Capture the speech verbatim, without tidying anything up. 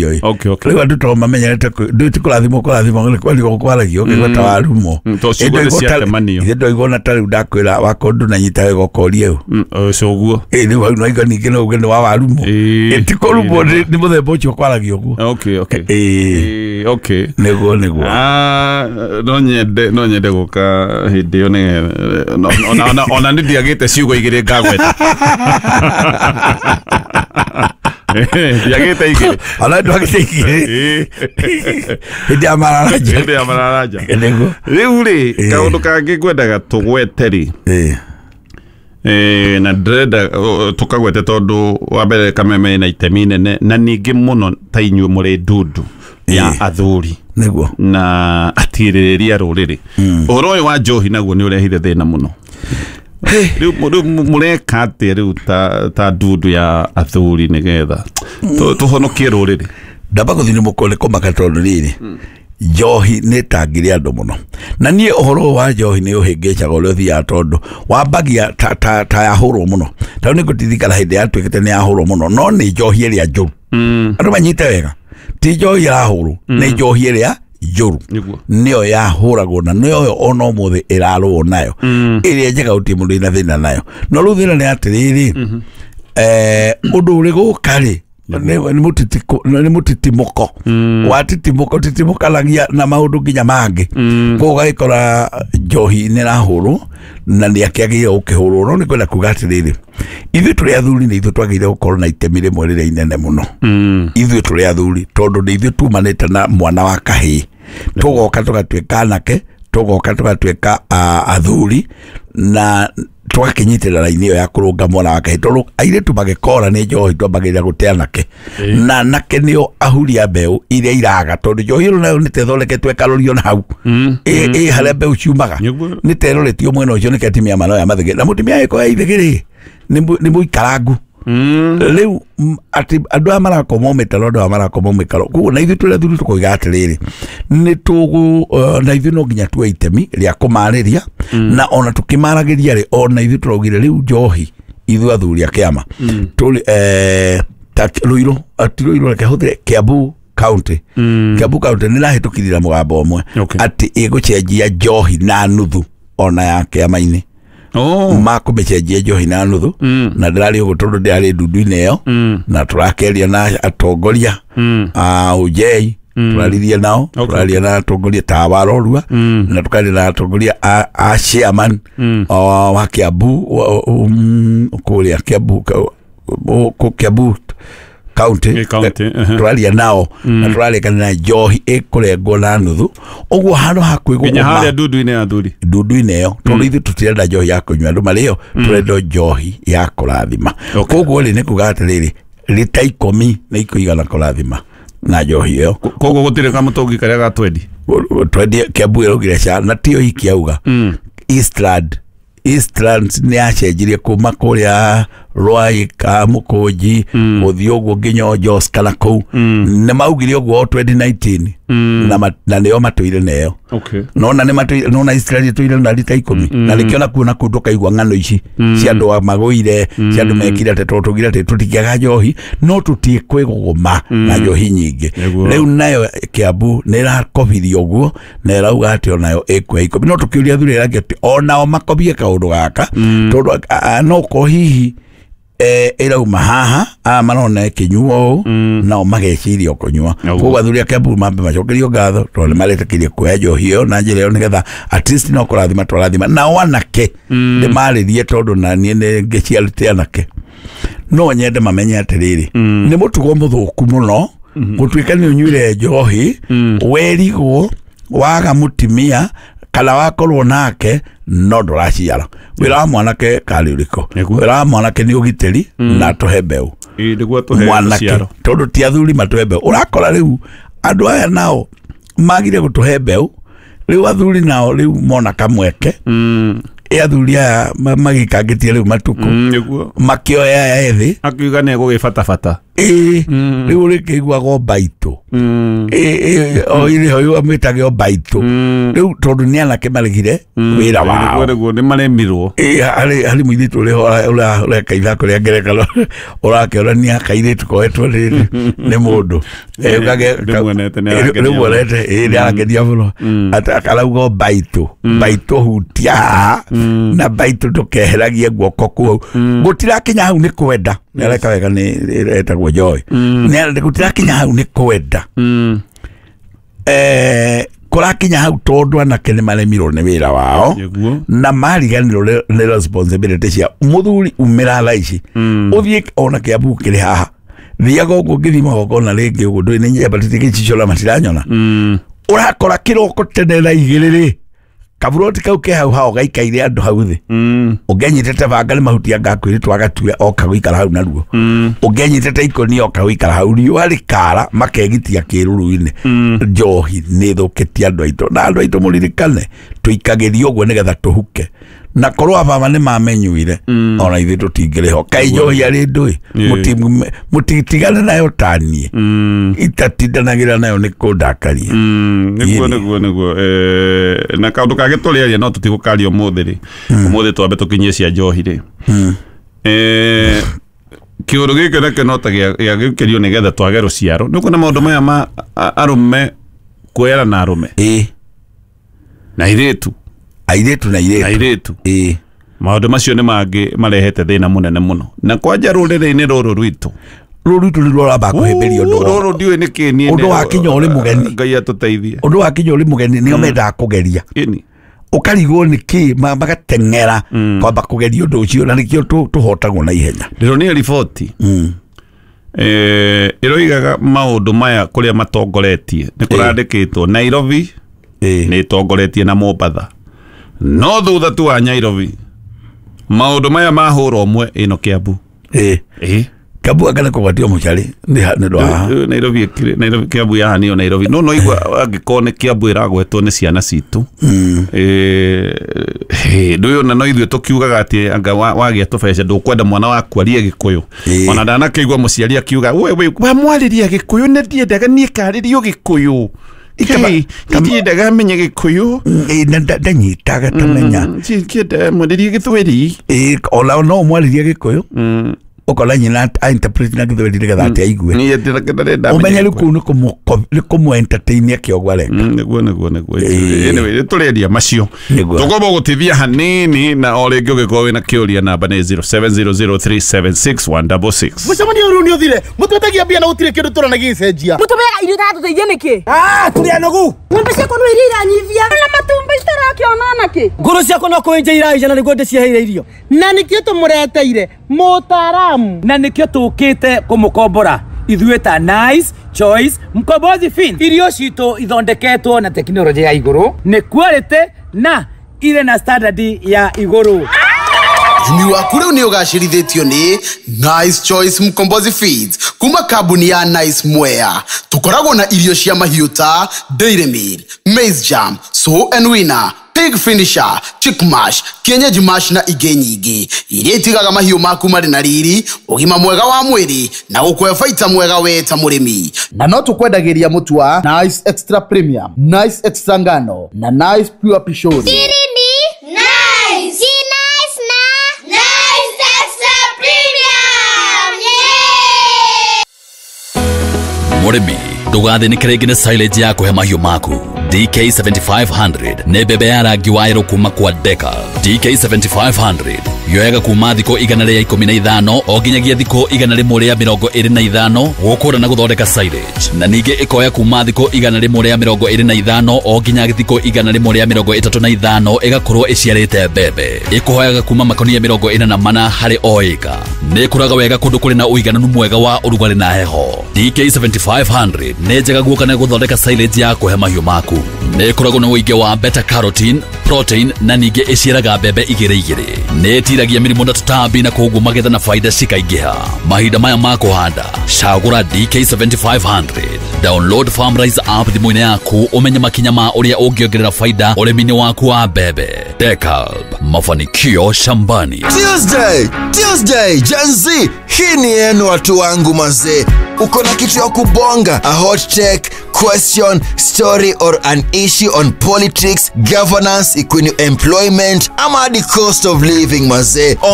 kwaragio. Okay, okay. Rĩu andũ to mamenyerete ndũ ti kũrathimwo kũrathimwo nĩ kwario kwaragio ũkĩigua ta warumwo. Mm, to ciugo nĩ ciatemanio. Ithe ndoigua na ta rĩu ndakwĩra wakwa ndũnanyita wega ũkoria ũ. Mm, ũcio ũguo. Ĩ rĩu hau no ningĩ no uge nĩ wa warumwo. Ĩĩ. Ĩ ti kũrumwo nĩ nĩ mũthemba ũcio kwaragio ũguo. Okay, okay. Ĩ Ĩĩ, okay. nĩguo nĩguo. Ah, no nyende no nyende gũka hĩndĩ ĩyo nĩ no- ona ona ona nĩ ndiagĩte ciugo igĩrĩ ngagweta. Ndiagĩte igĩrĩ. Ona ndwagĩte igĩrĩ. Ĩĩ. Hĩndĩ ya mararanja. Hĩndĩ ya mararanja. Nĩguo. Rĩu rĩ Ĩĩ. kaũndũ kangĩ ngwendaga tũgwete rĩ Ĩ. Eh, na ndĩrenda uh, tũkagwete tondũ wa mbere Kameme ĩna itemi nene na ningĩ mũno ta inyuĩ mũrĩ ndundu ya Ĩĩ. athuri Nĩguo. na atirĩrĩria rũrĩrĩ. Ũhoro ũyũ wa njohi naguo nĩ ũrehire thĩna mũno. Rĩu rĩu mũreka atĩa rĩu ta ta ndundu ya athuri nĩgetha tũ- tũhonokie rũrĩrĩ? Ndamba gũthiĩ nĩ mũkũ nĩ kũmaka tondũ rĩrĩ njohi nĩ ĩtangire andũ mũno na niĩ ũhoro ũyũ wa njohi nĩ ũhĩngĩcaga ũrĩa ũthiaga tondũ wambagia ta, ta, ta yahũrwo mũno ta rĩu nĩ ngũtirikana hĩndĩ yatuĩkĩte nĩ yahũrwo mũno no nĩ njohi ĩrĩa njũru. Andũ manyite wega ti njohi ĩrahũrwo nĩ njohi ĩrĩa njũru Nĩguo. nĩyo yahũragwo na nĩyo ona ũmũthĩ ĩrarũo nayo. Ĩrĩa njega gũtirĩ mũndũ wĩna thĩna nayo no rĩu thĩna nĩ atĩrĩrĩ eh, ũndũ ũrĩ gũka rĩ nĩ mũtitiko nĩ mũtitimũko watitimũka ũtitimũkanagia na maũndũ nginya mangĩ koguo ũgagĩkora njohi nĩ ĩrahũrwo na nĩ akĩagĩrĩire gũkĩhũrwo no nĩ kwenda kuga atĩrĩrĩ ithuĩ tũrĩ athuri nĩ ithuĩ twagĩrĩire gũkorwo na itemi rĩmwe rĩrĩa inene mũno. Ithuĩ tũrĩ athuri tondũ nĩ ithuĩ tumanĩte na mwana wa kahĩĩ tũgoka tũgatuĩka anake tũgoka tũgatuĩka ah, athuri na tũgakĩnyitĩrĩra raini ĩyo ya kũrũnga mwana wa kahĩĩ tondũ airĩtu magĩkora nĩ njohi twambagĩrĩra gũte anake na anake nĩo ahuri a mbeũ iria iraga tondũ njohi ĩno nayo nĩ ta ĩthondeketwo ĩkarorio na hau ĩ ĩ harĩa mbeũ ciumaga Nĩguo. nĩ ta ĩroretio mwena ũcio nĩkĩo atumia manoya mathĩgĩ na mũtumia agĩkorwo ithĩgĩ rĩ nĩ mũikarangu rĩu m- atĩ andũ aya marakoma mĩtaro andũ aya marakoma mĩkaro koguo na ithuĩ tũrĩ athuri tũkoiga atĩrĩrĩ nĩ tũgũ eh, na ithuĩ no nginya tuoe itemi rĩa kũmarĩria na ona tũkĩmaragĩria rĩ ona ithuĩ tũraugire rĩu njohi ithuĩ athuri a kĩama tũrĩ eh, ta Ruiru ati Ruiru reke hũthĩre Kiambu County. Kiambu County nĩ ĩrahĩtũkithia mũgambo ũmwe Okay. atĩ ĩgũcenjia njohi na nuthu ona ya kĩama-inĩ Oh. makũmĩcenjia njohi na nuthu na ndĩrarĩ ũguo tondũ ndĩrarĩ ndundu-inĩ ĩyo na tũrakeria na atongoria a ũnjei tũraririe nao tũraria na atongoria ta Warorua na tũkaria na atongoria a, a chairman o, wa Kiambu wa- um, kũrĩa Kiambu ka- o- kũ- Kiambu county Ĩ, county, ehe. tũraria nao na tũrarĩkanĩra njohi ĩkũrengwo na nuthu ũguo handũ ha Nginya kwĩgũgũma harĩa ndundu-inĩ ya athuri. ndundu-inĩ ĩyo tondũ ithuĩ tũtirenda njohi ya kũnyua andũ marĩo tũrenda njohi ya kũrathima Okay. koguo rĩ nĩ kuga atĩrĩrĩ rita ikũmi nĩ ikũigana kũrathima na njohi ĩyo Koguo gũtirĩ kamũtũngi karĩa ga twendi. twendie Kiambu ĩraugire ca na tiyo iki auga Eastland Eastlands nĩ yacenjirie kuma kũrĩa Rwai ka Mũkũnji gũthiĩ ũguo nginya Jos kana kũu nĩ maugire ũguo o twenty nineteen na ma- na nĩo matũire neyo Okay. nona nĩ matũire nona Israel ĩtũire na rita ikũmi na nĩkĩo nakuo nakuo ndũkaigua ng'ano ici cia andũ a magũire cia andũ mekire atĩ tondũ tũgire atĩ tũtingĩaga njohi no tũtiĩ kwĩgũgũma na njohi nyingĩ Nĩguo. rĩu nayo Kiambu nĩ ĩrakobirie ũguo na ĩrauga atĩ onayo ĩkuoya ikũmi no tũkĩũria athuri arĩa angĩ atĩ onao makobie kaũndũ gaka tondũ a- a- no ko hihi eh, ĩrauma haha aya marona ĩkĩnyuo ũũ nao mageciria o kũnyua Nĩguo. koguo athuri a Kiambu mambe macokerio ngatho tondũ nĩ maretĩkĩrie kuoya njohi ĩyo na njĩra ĩyo nĩgetha at least no kũrathima twarathima nao anake ndĩmarĩrie tondũ na niĩ nĩ ngĩciarĩte anake no nyende mamenye atĩrĩrĩ nĩ mũtugo mũthũku mũno gũtuĩka nĩ ũnyuire njohi werigwo waga mũtumia kana wakorwo nake no ndũraciara wĩra wa mwanake karĩ ũrĩkũ Nĩguo. wĩra wa mwanake nĩ ũgitĩri na atũhe mbeũ Ĩ, nĩguo tũhe mwanake rũciaro. tondũ ti athuri matũhe mbeũ ũrakora rĩu andũ aya nao magire gũtũhe mbeũ rĩu athuri nao rĩu mona kamweke Athuri aya magĩkangĩtie rĩu matukũ makĩoya aya ethĩ akiuga nĩ egũgĩbatabata ĩĩ rĩu rĩkĩiguagwo mbaitũ o irĩho amĩtage o mbaitũ rĩu tondũ nĩ anake maregire wĩra wao nĩguo nĩ maremirwo. Ĩĩ harĩ harĩ mũirĩtu ũrĩho ũreka ithako rĩa ngerekano ũrakĩonania kairĩtu koetwo nĩ nĩ mũndũ ndĩmuonete ĩĩ nĩ arakenia mũno akarauga mbaitũ mbaitũ hutia haha na mbaitũ ndũkeheragie guoko kũu gũtirakinya hau nĩ kwenda nĩ areka wega nĩ etagwo Joy nĩ gũtirakinya hau nĩ kwenda eh kũrakinya hau tondũ anake nĩ maremirwo nĩ wĩra wao na mariganĩrwo nĩ responsibility cia mũthuri umĩra thaa ici ũthiĩ ona Kĩambu kĩrĩ haha thiaga ũguo ngĩthiĩ magongona rĩngĩ ũguo ndũĩ nĩ nyambatĩtie gĩcicio na matiranyona ũrakora kĩroko tene thaa igĩrĩ rĩ kaburoti kau ke hau hao gaikaire andũ hau thĩ ũngĩanyitĩte banga nĩ mahuti anga kwĩrĩtwo agatue oka gũikara hau naruo ũngĩanyitĩte ikoni oka gũikara hau riũa rĩkara makegitia kĩruru-inĩ njohi nĩ ĩthũkĩtie andũ aitũ na andũ aitũ mũririkane tũikagĩrio ũguo nĩgetha tũhuke na korwo ababa nĩ mamenyuire ona ithuĩ tũtingĩrĩho kaĩ njohi arĩ ndũĩ mũtitigane nayo taniĩ itatindanagĩra nayo nĩ kũndakaria nĩguo nĩguo nĩguo na kaũndũ kangĩ tũrĩaria no tũtigũkaria ũmũthĩ rĩ ũmũthĩ twambe tũkinyie cia njohi rĩ kĩũndũ gĩkĩ nakĩo no ta gĩagĩũkĩrio nĩgetha twage rũciaro nĩ ũkuona maũndũ maya ma arũme kwera na arũme na airĩtu airĩtu na airĩtu airĩtu ĩĩ maũndũ macio nĩ mangĩ marehete thĩna mũnene mũno na kwanja rũrĩrĩ-inĩ rũrũ rwitũ rũrũ rwitũ nĩ rũramba kũhĩmbĩria ũndũ rũrũ ndiũĩ nĩ kĩ niĩ ũndũ wa kinya ũrĩ mũgeni Ngai atũteithie ũndũ wa kinya ũrĩ mũgeni nĩo mendaga kũgeria ĩni ũkarigwo nĩ kĩ magateng'era kwamba kũgeria ũndũ ũcio na nĩkĩo tũhotagwo na ihenya ndĩronire riboti ĩroigaga maũndũ maya kũrĩa matongoretie nĩ kũrandĩkĩtwo Nairobi nĩ ĩtongoretie na Mombatha no thutha tu wa Nairobi maũndũ maya mahũra ũmwe ĩno Kiambu ĩĩ ĩĩ Kiambu anga nĩ kũgwatio mũcarĩ nĩ ũndũ wa Nairobi ĩkĩrĩ Nairobi Kiambu yahanio Nairobi no no igua angĩkorwo nĩ Kiambu ĩragwetwo nĩ ciana citũ ĩĩ ndũĩ ona no ithuĩ tũkiugaga atĩ anga wagĩa tũbeca ndũkwenda mwana waku arie Gĩkũyũ ona ndanakĩigua mũciari akiuga we we wamwarĩria Gĩkũyũ nĩ ndiendaga niĩ karĩrio Gĩkũyũ ndiendaga menye Gĩkũyũ ndanyitaga tamenya kĩenda mwarĩrie Gĩthweri ona no mwarĩrie Gĩkũyũ ũkona nyina a interpret na Gĩthweri nĩgetha atĩ aigue ũmenye rĩu kũu nĩ kũmũ entertain akĩogwo areka nĩguo nĩguo nĩguo anyway nĩtũrĩendia macio tũkwamba gũtithia hanini na o rĩngĩ ũngĩkorwo wĩna kĩũria namba nĩ zero seven zero zero three seven six one double six mũcemanio rĩu nĩ ũthire mũtwetagia mbia na gũtirĩ kĩndũ tũrona gĩgĩcenjia mũtũmeaga irio itatũteithia nĩkĩ ah tũrĩ anogu ng'ombe ciakwa no iria iranyivia na matumbĩ itarakĩona nakĩ ngũrũ ciakwa no kũenja iraija na nĩguo ndĩciheire irio na nĩkĩo tũmũreteire mũtaaramu na nĩkĩo tũkĩte kũmũkombora ithuĩ ta Nice Choice Mkombozi Fin irio citũ ithondeketwo na tekinoronjĩ ya igũrũ nĩ quality na irĩ na standard ya igũrũ Ũrĩmi waku rĩu nĩ ũgacĩrithĩtio nĩ Nice Choice Mkombozi Feeds kuma kambuni ya Nice Mwea tũkoragwo na irio cia mahiũ ta Dairy Meal, Maize Jam, Sow and Winner, Pig Finisher, Chick Mash, Kienyeji Mash na ingĩ nyingĩ iria itigaga mahiũ maku marĩ na riri ũgima mwega wa mwĩrĩ na gũkũhe baita mwega we ta mũrĩmi na no tũkwendagĩria mũtu wa Nice Extra Premium, Nice Extra Ngano na Nice Pure Pishori. Nice. Nice na Nice Extra Premium. Yeah! Mũrĩmi ndũgathĩnĩke rĩngĩ nĩ silage ya kũhe mahiũ maku. D K seventy-five hundred nĩ mbembe ya rangi wa yerũ kuma kwa Deka. D K seventy-five hundred yoyaga kuma thikũ igana rĩa ikũmi na ithano o nginyagia thikũ igana rĩmwe rĩa mĩrongo ĩrĩ na ithano gũkũra na gũthondeka silage na ningĩ ĩkoya kuma thikũ igana rĩmwe rĩa mĩrongo ĩrĩ na ithano o nginya thikũ igana rĩmwe rĩa mĩrongo ĩtatũ na ithano ĩgakorwo ĩciarĩte mbembe ĩkũhoyaga kuma makonia mĩrongo ĩna na mana harĩ o ĩka nĩ ĩkũraga wega kũndũ kũrĩ na ũigananu mwega wa ũrugarĩ na heho. D K seventy-five hundred nĩ njega guoka na gũthondeka silage ya kũhe mahiũ maku nĩ ĩkoragwo na ũingĩ wa beta carotene, protein na ningĩ ĩciaraga mbembe igĩrĩ igĩrĩ. Nĩ ĩtiragia mĩrimũ na tũtambi na koguo magetha na faida cikaingĩha. Mahinda maya ma kũhanda, cagũra D K seventy-five hundred. Download FarmRise app thimũ-inĩ yaku ũmenye makinya ma ũrĩa ũngĩongerera faida ũrĩmi-inĩ waku wa mbembe. Dekalb, mafanikio shambani. Tuesday, Tuesday, Gen Z, hii ni yenu watu wangu mazee. Uko na kitu ya kubonga, a hot take, question, story or an issue on politics, governance, equity, employment, ama hadi cost of living mazee. On